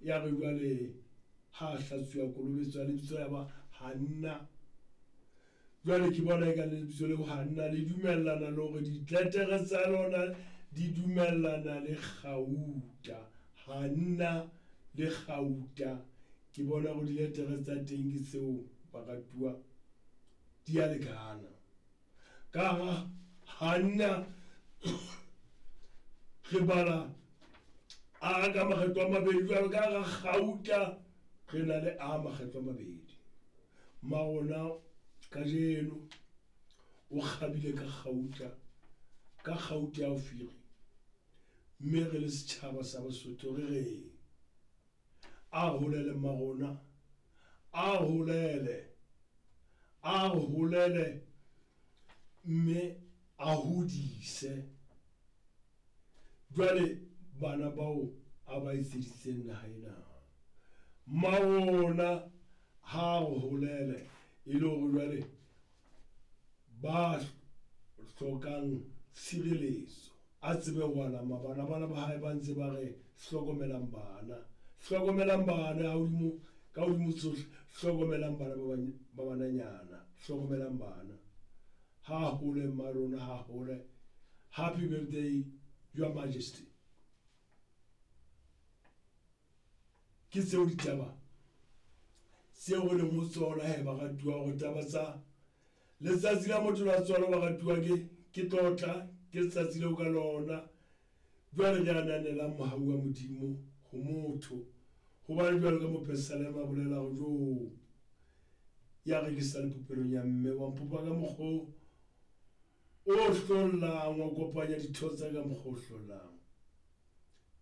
Ya re jwale ha a hlatsuwa kolobetso ya lebitso ya ba Hanna. Jwale ke bona eka lebitso leo Hanna le dumellana le hore ditletere tsa lona di dumellana le kgauta. Hanna le kgauta. Ke bona hore diletere tsa teng ke tseo baratuwa di a lekana. Ka hara Hanna re bala a ka makgetlo a mabedi jwalo ka hara kgauta re na le a makgetlo a mabedi. Mmarona kajeno o kgabile ka kgauta, ka kgauta ya Ofiri. Mme re le setjhaba sa Basotho re reng? A holele mmarona, a holele, a holele mme a hodise. Jwale bana bao a ba etseditseng naha ena. Mmarona ha a holele e le hore jwale ba hlokang tshireletso a tsebe ho alama bana. Bana ba hae ba ntse ba re hlokomelang bana, hlokomelang bana hodimo ka hodimo tsohle, hlokomelang bana ba bananyana, hlokomelang bana. Ha hole mmarona, ha hole. Happy birthday, Your Majesty. Ke tseo ditaba tseo re leng ho tsona he baratuwa, hore taba tsa letsatsi la motho la tswalo baratuwa ke ke tlotla, ke letsatsi leo ka lona jwale re ananelang mohau wa Modimo ho motho. Hobane jwalo ka mopesalema a bolela hore jo ya re ke sa le popelong ya mme wa mpopa ka mokgwa o hlollang, wa kopanya ditho tsa ka mokgwa o hlollang,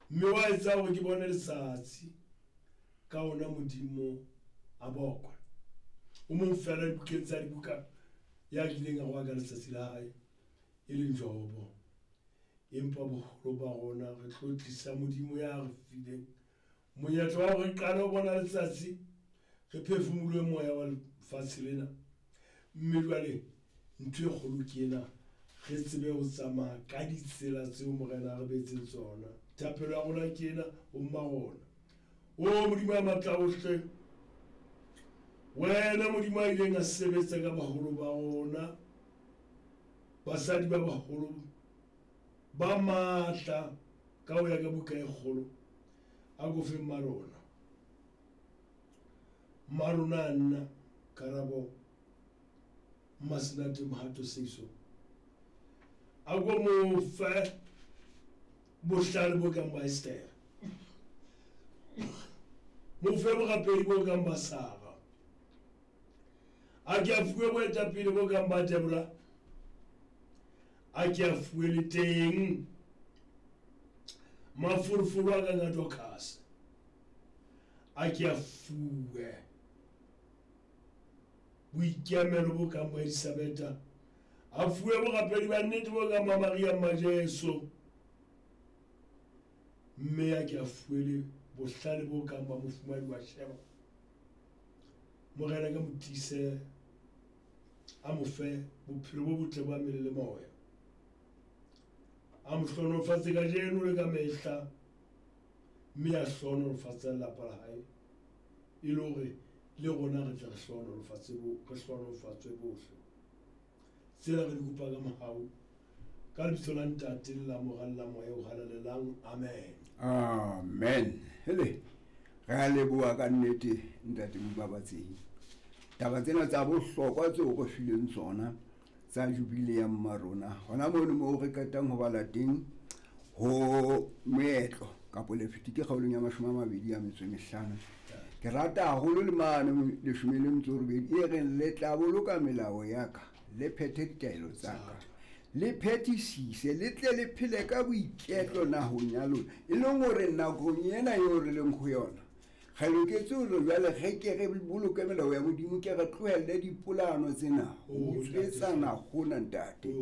mme wa etsa hore ke bone letsatsi ka ona Modimo a bokwe. O mong fela dibukeng tsa dibuka ya kileng a roa ka letsatsi la hae e leng Jobo. Empa boholo ba rona re tlotlisa Modimo ya re fileng monyetla wa hore re qale ho bona letsatsi, re phefumolohe moya wa lefatshe lena. Mme jwale ntho e kgolo ke ena, re tsebe ho tsamaya ka ditsela tseo Morena a re beetseng tsona. Thapelo ya rona ke ena ho mma rona. O Modimo ya matla ohle, wena Modimo a ileng a sebetsa ka baholo ba rona, basadi ba baholo ba matla ka ho ya ka buka e kgolo, a ko fe mma rona. Mma rona a nna Karabo Mmasenate Mohato Seiso, a ko mo fe bohlale bo kang ba Esther, mo fe borapedi bo kang ba Sara, a ke a fuwe boetapele bo kang ba Deborah, a ke a fuwe le teng mafolofolo a kang a Dorcas, a ke a fuwe boikemelo bo kang ba Elisabetha, a fuwe borapedi ba nnete bo kang ba Maria mma Jesu, mme a ke a fuwe le bohlale bo kang ba mofumahadi wa Sheba. Morena ka mo tiise, a mo fe bophelo bo botle ba mmele le moya, a mo hlohonolofatse kajeno le ka mehla, mme a hlohonolofatse lelapa la hae, e le hore le rona re tle re hlohonolofatse bo, re hlohonolofatswe bohle. Tsena re di kopa ka mohau, ka lebitso la Ntate le la Mora le la Moya o Halalelang. Amen. Amen. Hele, re a leboha ka nnete Ntate Mobabatsehi. Taba tsena tsa bohlokwa tseo re fileng tsona tsa jubile ya mma rona, hona mono moo re qetang ho bala teng ho moetlo kapo Lefitike kgaolong ya 25. Ke rata haholo le mane 18 e reng le tla boloka melao ya ka, le phethe ditaelo tsa ka, le phethisise, le tle le phele ka boiketlo nahong ya lona. E leng hore nakong ena eo re leng ho yona, re loketse hore jwale re ke re boloke melao ya Modimo, ke re tlohelle dipolano tsena, ho utswetsana hona ntate,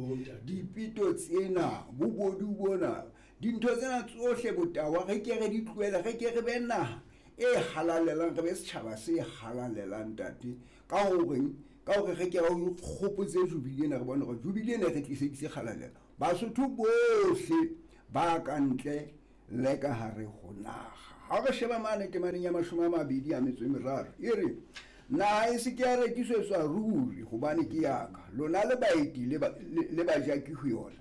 dipito tsena, bobodu bona, dintho tsena tsohle, botawa, re ke re di tlohele, re ke re be naha e halalelang, re be setjhaba se halalelang ntate. Ka horeng, ka hore re ke re ikgopotse jubile ena, re bone hore jubile ena e re tliseditse kgalalelo. Basotho bohle ba ka ntle le ka hare ho naha. Ha re sheba mane temaneng ya 23, e re naha e se ke ya rekisetswa ruri, hobane ke ya ka, lona le baeti le bajaki ho yona.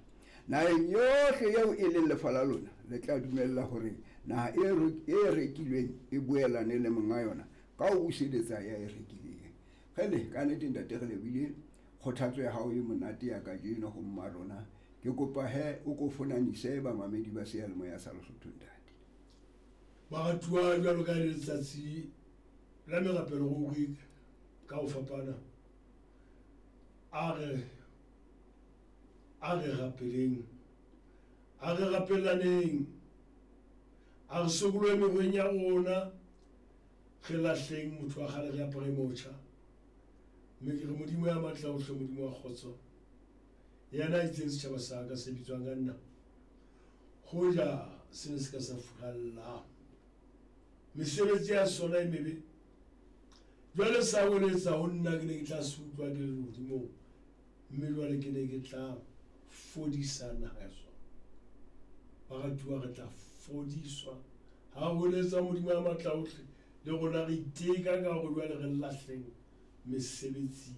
Naheng yohle eo e leng lefa la lona, le tla dumella hore naha e rekilweng e boelane le monga yona ka ho buseletsa ya e rekileng. Kgele, ka nnete ntate re lebohile kgothatso ya hao e monate ya kajeno ho mma rona. Ke kopa he o ko fonanise bamamedi ba seyalemoya sa Lesotho ntate. Baratuwa, jwalo ka letsatsi la merapelo ruri ka ho fapana, a re rapeleng, a re rapelaneng, a re sokolohe mekgweng ya rona, re lahleng motho wa kgale, re apare motjha. Mme ke re Modimo ya matla ohle, Modimo wa kgotso, yena a itseng setjhaba sa ka se bitswang ka nna, hoja se ne se ka sa furalla mesebetsi ya sona e mebe, jwale sa weletsa ho nna, ke ne ke tla se utlwa ke le lehodimong, mme jwale ke ne ke tla fodisa naha ya sona. Baratuwa, re tla fodiswa ha weletsa Modimo ya matla ohle, le rona re iteka ka hore jwale re lahleng mesebetsi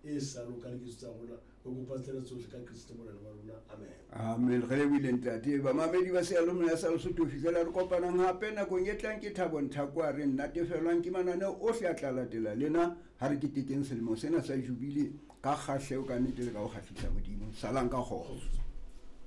e sa lokang diketso tsa rona. Re kopa tsena tsohle ka Kriste Morena wa rona. Amen. Amen. Re lebohile ntate. Bamamedi ba seyalemoya sa Lesotho, ho fihlela re kopanang hape nakong e tlang, ke Thabo Nthako a re natefelwang ke mananeo ohle a tla latela lena ha re ketekeng selemo sena sa jubile ka kgahleho ka nnete le ka ho kgahlisa Modimo. Salang ka kgotso.